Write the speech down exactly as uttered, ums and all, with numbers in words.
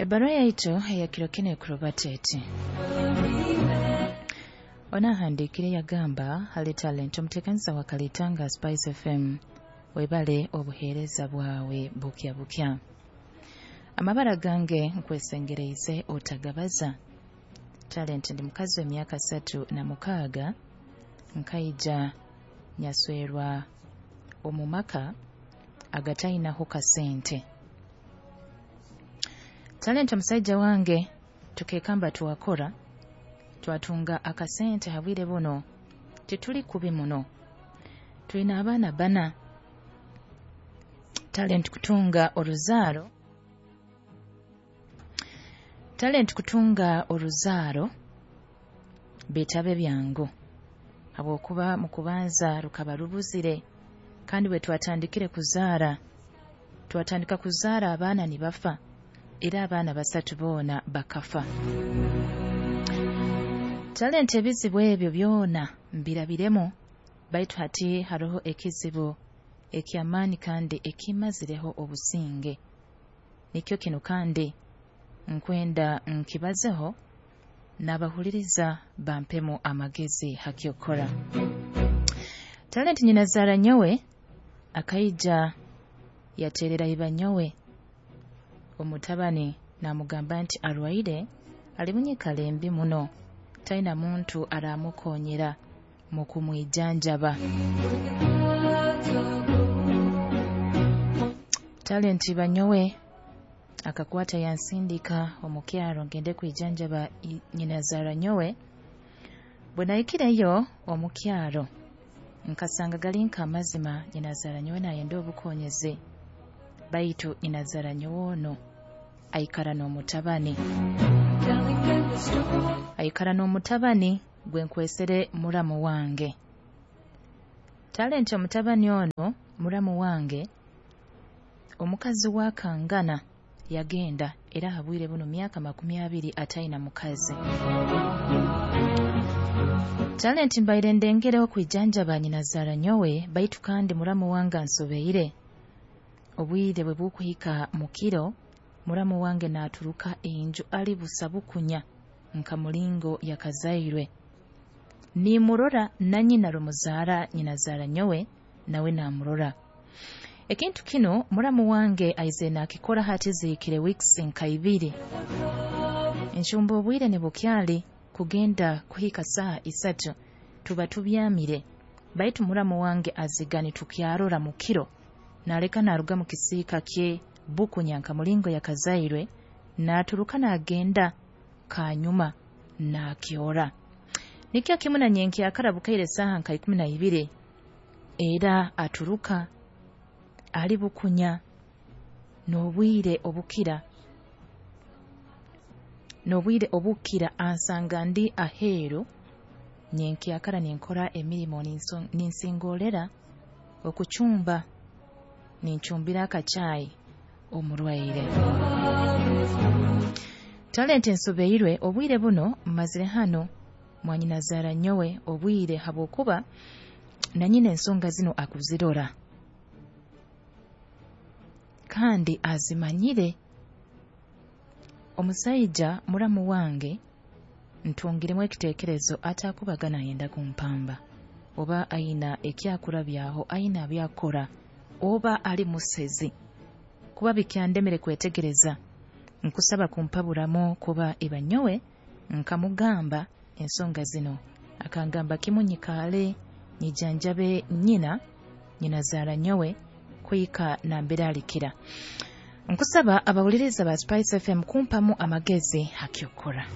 Ebbaruha yaitu eyakiro kinu ekurubata eti. Onahandiikire yagamba, "Hali Talent, omuteekaniza wa Kalitanga Spice F M, webale obuheereza bwawe bukya bukya. Amabara gange nkwesengereize otagabaza. Talent, ndi mukazi w'emyaka satu na mukaaga, nkaija nyaswerwa omu maka agatayinaho kasente. Talent, omusaija wange tukekamba twakora twatunga akasente. Habwire buno tituli kubi muno, twina abaana bana. Talent, kutunga oruzaaro, Talent, kutunga oruzaaro bitabe byangu, habwokuba mu kubanza rukaba rubuzire, kandi bwe twatandikire kuzaara, twatandika kuzaara abaana nibafa, era abaana basatu boona bakafa. Talent, ebizibu ebyo byona mbirabiremu, baitu hati haroho ekizibu eky'amaani kandi ekimazireho obusinge. Nikyo kinu kandi nkwenda nkibazeho n'abahuliriza bampemu amagezi hakyokora. Talent, nyinazaara nyowe akaija yaterera iba nyowe omutabani, namugamba nti arwaire, ali munyikara embi muno, talina muntu aramukonyera mu kumwijanjaba. Talent, iba nyowe akakwata yansindika omu kyaro ngende kwijanjaba nyinazaara nyowe. Bwe nahikireyo omu kyaro, nkasanga gali nk'amazima, nyinazaara nyowe nayenda obukonyezi, baitu nyinazaara nyowe ono aikara n'omutabani, aikara n'omutabani gwe nkwesere muramu wange. Talent, omutabani ono muramu wange, omukazi wa kangana yagenda, era habwire buno myaka makumi abiri atayina mukazi. Talent, mbaire ndengereho kwijanjaba nyinazaara nyowe, baitu kandi muramu wange ansobeire. Obwire bwe bukuhika mu kiro, muramu wange naaturuka enju ali busa bukunya nka mulingo yakazairwe. Nimurora, na nyina rumuzaara nyinazaara nyowe nawe namurora. Ekintu kinu muramu wange aize nakikora hati zihikire weeks nka ibiri. Enshumba obwire nibukyali kugenda kuhika saaha isatu, tuba tubyamire, baitu muramu wange aziga nitukyarora mu kiro, naleka naruga mu kisiika kye bukunya nka mulingo yakazairwe, naturuka nagenda kanyuma nakyora. Nikyo kimu na nyenkyakara bukaire saaha nka ikumi na ibiri, era aturuka ali bukunya. N'obwire obukira n'obwire obukira ansanga ndi aheeru nyenkyakara ninkora emirimo, ninsingorera okucumba, nincumbira akacaayi omurwaire. Talent, nsobeirwe. Obwire buno mmazire hano mwanyinazaara nyowe obwire, habwokuba na nyina ensonga zino akuzirora kandi azimanyire. Omusaija muramu wange ntungiremu ekiteekerezo atakubaga nayenda kumpamba, oba aina ekyakurabyaho, aina byakora, oba ali musezi, kuba bikyandemere kwetegereza. Nkusaba kumpaburamu, kuba iba nyowe nkamugamba ensonga zino, akangamba kimu nyikaale nyijanjabe nyina nyinazaara nyowe kuhika nambere alikira. Nkusaba abawuliriza ba Spice F M kumpamu amagezi hakyokora."